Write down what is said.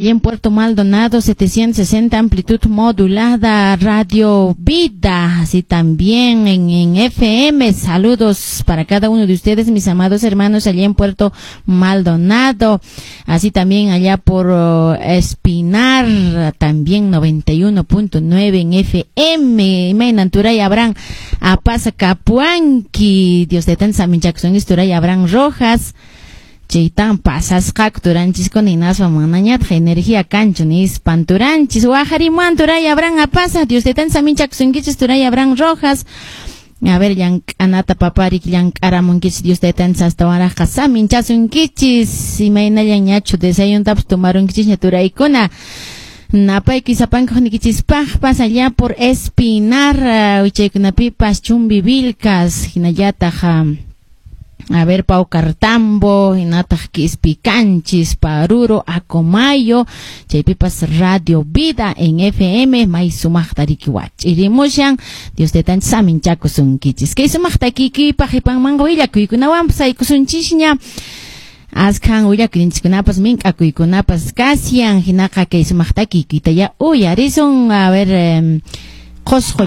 Y en Puerto Maldonado, 760 amplitud modulada, Radio Vida, así también en FM. Saludos para cada uno de ustedes, mis amados hermanos, allá en Puerto Maldonado, así también allá por Espinar, también 91.9 en FM. Imaynan turay Abraham Apasa Capuanqui, Dios de tan Jackson, turay Abraham Rojas. Chaytan pasasqaku turanchiskuna hinaspa manañataq energía kanchu nispan turanchis waqarimuwan turay Abraham Apasa Dios de tan saminchakusunkichis turay Abraham Rojas. A ver, llank'anata paparik llank'aramunkichis Dios de tan astawanraqqa saminchasunkichis imaynallan ñachu desayuntapas tomarunkichisña turaykuna. Napayki sapankuqnikichispaqpas allá por Espinar, wichaykunapipas Chumbivilcas hinallataq a ver, Paucartambo, hinataq Quispicanchis, Paruro, Acomayo, chaypipas Radio Vida en FM, may sumaqta riki wach'irimushan, Dios de tan saminchakusunkichis. Kay sumaqta kikiypaq qipanmanqa willakuykunawanpas aykusunchisña. Askhan willakuyninchikkunapas mink'akuykunapas kasyan, hinaqa kay sumaqta kikiyta ya uyarisun, a ver, Qosqo.